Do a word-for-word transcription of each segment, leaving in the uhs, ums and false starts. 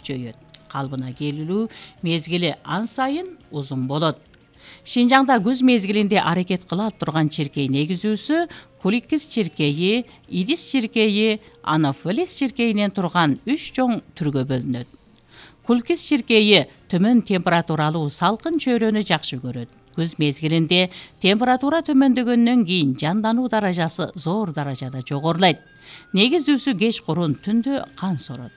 күчөйөт. Калыбына келүү мезгили ан сайын узун болот. Шинжаңда күз мезгилинде аракет кыла турган чиркей негизүүсү Куликис чиркейи, Идис чиркейи, Анафолис чиркейинен турган үч чоң түргө бөлүнөт. Куликис чиркейи төмөн температуралуу салкын чөйрөнү жакшы көрөт. Күз мезгилинде температура төмөндөгөндөн кийин жандануу даражасы зор даражада жогорулайт. Негизүүсү кеч курун, түндө кан сорот.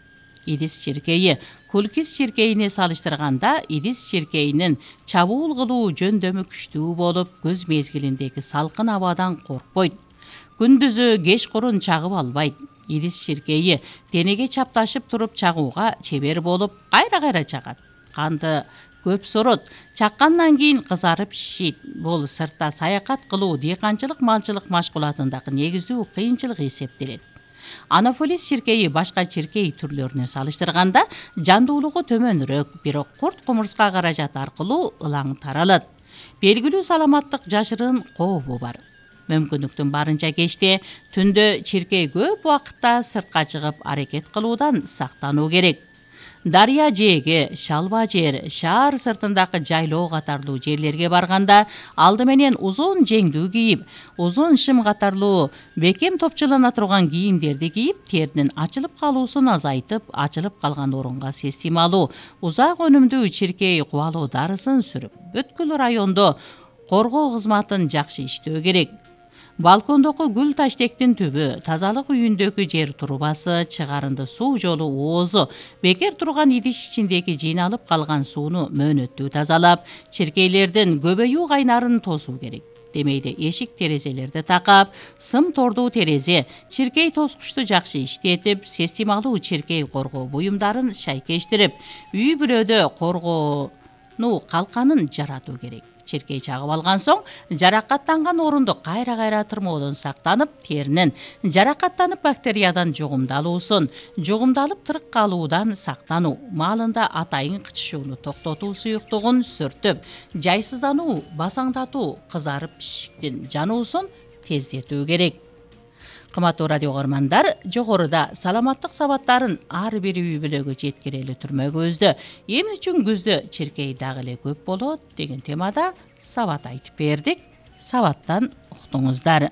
Идис чиркейи Куликис чиркейине салыштырганда Идис чиркейинин чабуул кылуу жөндөмү күчтүү болуп, күз мезгилиндеги салкын абадан коркпойт. Күндүзү кеч курун чагып албайт. Идис чиркейи денеге чапташып туруп чагууга чебер болуп, кайра-кайра чагат. Канды көп сорот. Чаккандан кийин кызарып шишит. Бул сыртта саякат кылуу, дыйканчылык, малчылык машкулатындагы негиздүү кыйынчылык эсептелет. Анафолис чиркейи башка чиркей түрлөрүнө салыштырганда жандуулугу төмөнүрөөк, бирок курт кумурска каражат аркылуу ылаң таралат. Белгилүү саламаттык жашырын кообу бар. Мүмкүндүктүн барынча кечте, түндө чиркей көп убакытта сыртка чыгып аракет кылуудан сактануу керек. Дарыя жээге, шалба жер, шаар сыртындагы жайлоо катарлуу жерлерге барганда алды менен узун жеңдүү кийип, узун шым катарлуу бекем топчулана турган кийимдерди кийип, теринин ачылып калуусун азайтып, ачылып калган орунга системалуу, узак өнүмдүү чиркей кубалоо дарысын сүрүп, бүткүл райондо коргоо кызматын жакшы иштөө керек. Балкондогу гүл таштектин түбү, тазалык үйүндөгү жер турбасы, чыгарынды суу жолу оозу, бекер турган идиш ичиндеги жыйналып калган сууну мөөнөттүү тазалап, чиркейлердин көбөйүү кайнарын тосуу керек. Демейде эшик терезелерди такап, сым тордуу терезе, чиркей тоскучту жакшы иштетип, системалуу чиркей коргоо буюмдарын шайкештирип, үй бүлөдө коргоону калканын жаратуу керек. Чиркей чагып алган соң жаракаттанган орунду кайра-кайра тырмоодон сактанып, теринин жаракаттанып бактериядан жугумдалуусун, жугумдалып тырык калуудан сактануу, маалында атайын кычышууну токтотуу суюктугун сүртүп, жайсыздануу, басаңдатуу, кызарып пишиктин жануусун тездетүү керек. Кымбаттуу радио көрөрмандар, жогоруда саламаттык сабаттарын ар бир үй бүлөгө жеткирели түрмөгүбүздө эмне үчүн күздө чиркей дагы эле көп болот деген темада сабат айтып бердик. Сабаттан уктуңуздар.